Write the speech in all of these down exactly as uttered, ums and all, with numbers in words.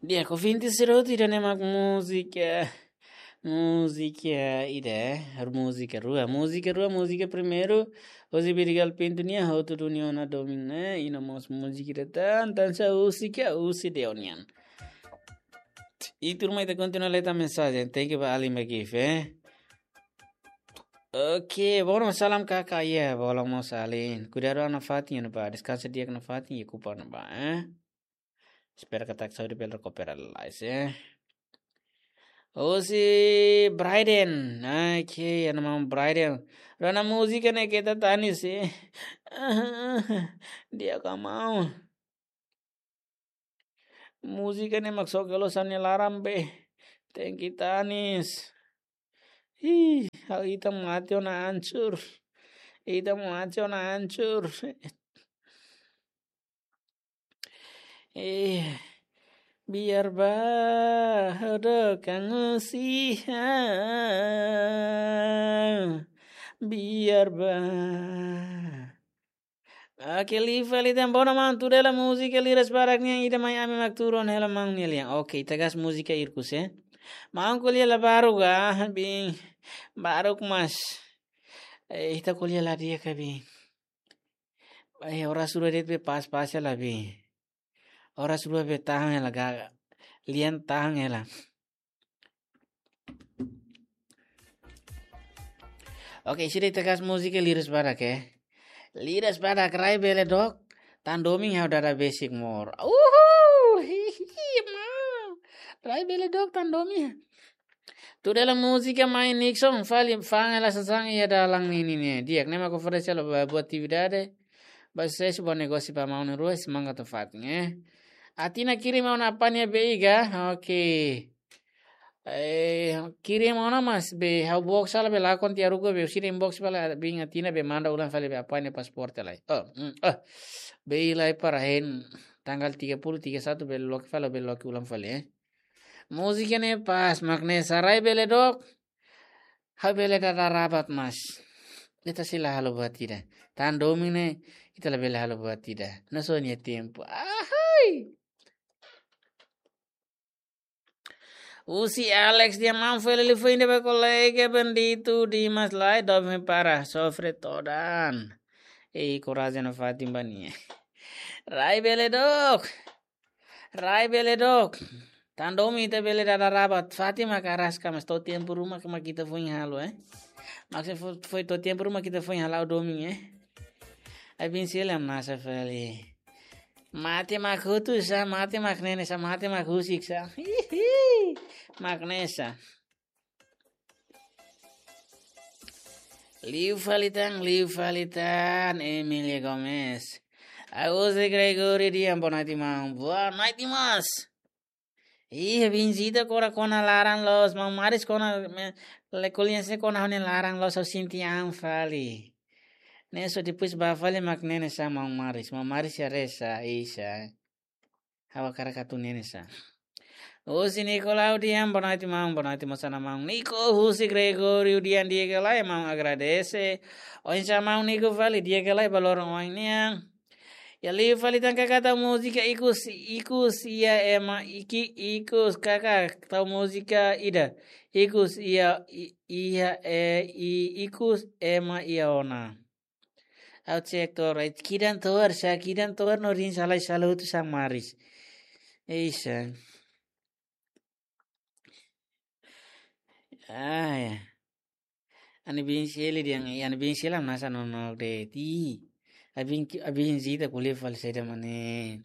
Di'ak, ouvinte sira hotu, ida-ne'e mak múzika, múzika ida, múzika rua, múzika rua, múzika primeiru, José Birigal Pinto nian, Hotu Duni Ona Domin ne'e, i no mós múzika ida tan, tan sa múzika, husi Deo nian. I tuirmai ita kontinua lee tan mensajen, thank you ba alin ba gift, eh. Oke, bom, salam kakak, ya, bom, mós alin. Kuidadu ona fatin, ya, ba, deskansa di'ak ona fatin, ya, kupa ona ba, eh. Espera katak saúde bele rekupera lalais, eh. Husi Brayden, oke, ya, nama Brayden. Rona múzika ne'e keta tanis, eh. Di'ak ka maun. Múzika ne'e mak soke loos ha'u-nia laran be. Tenke tanis. Ih, ha'u ita mate ona hancur. Ita mate ona hancur. Eh, biar ba, ha'u dook an husi ha'u. Biar ba. Oke, liu fali tan, bom, maun, tuir hela múzika Liras Badak nian, ida mai ami mak tuur ona hela maun nia lian. Oke, ita gas múzika Irkus, eh. Maun ko'alia la baruk ka, bin. Baruk mas. Eh, ita ko'alia la di'ak ka bin. Eh, oras rua de'it be pas-pas hela bin. Oras rua be tahan hela ga. Lian tahan hela. Oke, sira ita gas múzika Liras Badak, eh. Liras Badak, rai bele dook, tan domin ha'u dada besik mós. Uhuu, hihi, ma. Rai bele dook, tan domin. Tuir hela múzika mai Nixon, fali fa'an hela sasán iha dalan ninin ne'e. Di'ak, ne'e mak oferese hela ba buat atividade. Ba susesu ba negósiu ba maun na'in-rua, semangat atu fatin, eh. Atina kirim ona apanya be iha, oke. Eh, kirim ona mas be ha'u box sala be lakon tiha rua be sira inbox fali bin Atina be manda ulang fali be apanya pasaporte lai. Oh, mm, oh. Be lai para hein tanggal tiga puluh, tiga satu be loke fali be loke ulang fali, eh. Múzika ne'e pas mak ne'e, sa rai bele dook. Ha'u bele dada rabat mas. Ita sei la halo buat ida. Tan domin ne'e, ita labele halo buat ida. Nusá nia tempu. Ahai. Husi Alex, di'ak maun, fali liu foin ida ba kolega Benedito Dimas lai, doben para sofre todan. Ei, korajen no fatin ba nia. Rai bele dook. Rai bele dook. Tan domin ita bele dada rabat. Fatin mak araska mas to'o tempu ruma mak ita foin halo, eh. Mak se fo-, foin to'o tempu ruma ita foin halo domin, eh. Ai bin sila masa fali. Mate mak hotu sá, mate mak nene sá, mate mak husik sá. Hihi. Mak ne'e sá. Liu fali tan, liu fali tan, Emilia Gomez. Agus de Gregory, di'ak, boa noite, maun. Boa noite, mas. Ih, bin Zita kora kona laran loos, maun Maris kona, me, le ko'alia sé kona ha'u-nia laran loos, ha'u sente an fali. Ne'e só depois ba fali mak nene sá maun Maris, maun Maris ya resa, isa. Ha'u hakarak atu nene sá. Husi Nicolau, di'ak, boa noite, maun, boa noite, mosana maun Nico, husi Gregorio, di'ak, di'ak ka lae, maun agradese. Oinsá maun Nico fali, di'ak ka lae, ba loron oin nian. Ya liu fali tan karik tau múzika ikus, ikus iha ema, iki, ikus karik tau múzika ida. Ikus iha, i-, iha, e, i-, ikus ema iha ona. Ha'u cek to'o, right, kidan to'o, sa kidan to'o no rin sala sala hotu sa Maris. Ei, sa. Ah, ya. Ani bin Seli di'ak, ani bin Seli am nasa no no de ti. Abin ki, abin Zita ko'alia fali saida mak ne'e.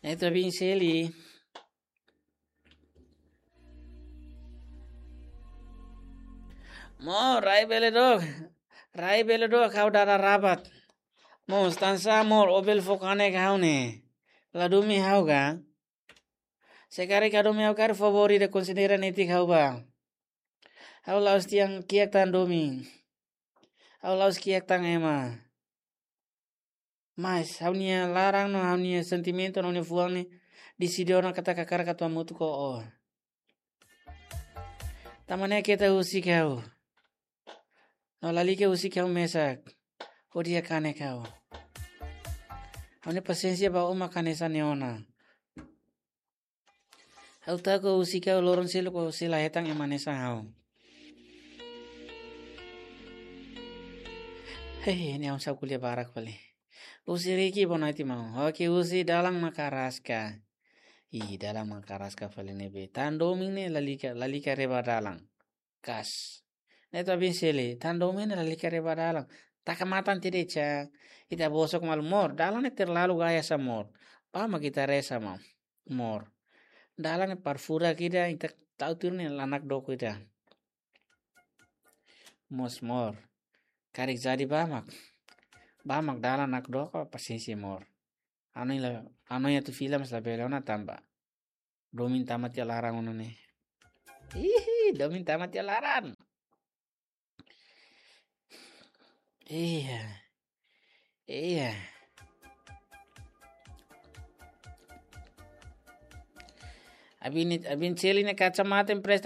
Ne'e atu bin Seli. Maun, rai bele dook. Rai bele dook, ha'u dada rabat. Maun, tansa maun, ó bele fó kanek ha'u ne'e. La domin ha'u ka. Se karik ka domin ha'u karik, favór ida konsidera netik ha'u ba. Ha'u la'ós tiha kiak tan domin. Ha'u la'ós kiak tan ema. Mas, ha'u-nia laran no ha'u-nia sentimentu no ha'u-nia fuan ne'e deside ona katak hakarak atu hamutuk ho ó. Tanba ne'e keta husik ha'u. No lalika husik ha'u mesak. Hodi kanek ha'u. Ha'u-nia pasiénsia ba ó mak hanesan ne'e ona. Ha'u taka husi ka loron seluk husi la hetan ema hanesan ha'u. Hei, ne'e ha'u sa'e ko'alia barak fali. Husi Riki bonaiti mau. Oke, husi dalan mak araska. Ih, dalan mak araska fali ne'ebé. Tan domin ne'e lalika, lalika reba dalan. Kas. Ne'e atu abin seli. Tan domin ne'e lalika reba dalan. Taka matan tede ca. Ita bosok malu mor. Dalan ne'e terlalu gaya sa mor. Ba mak ita reza mau. Mor. Dalan ne'e parfura kida ita tau tur ne'e la nakdoko ida. Mós mor. Karik jadi ba mak. Ba mak dalan nakdoko pasiénsia mor. Anu la, anu atu fila mas labele ona tanba domin tama tiha laran ona ne'e. Ih, domin tama tiha laran. Iya. Iya. Abin, abin seli ne'e kacamata empresta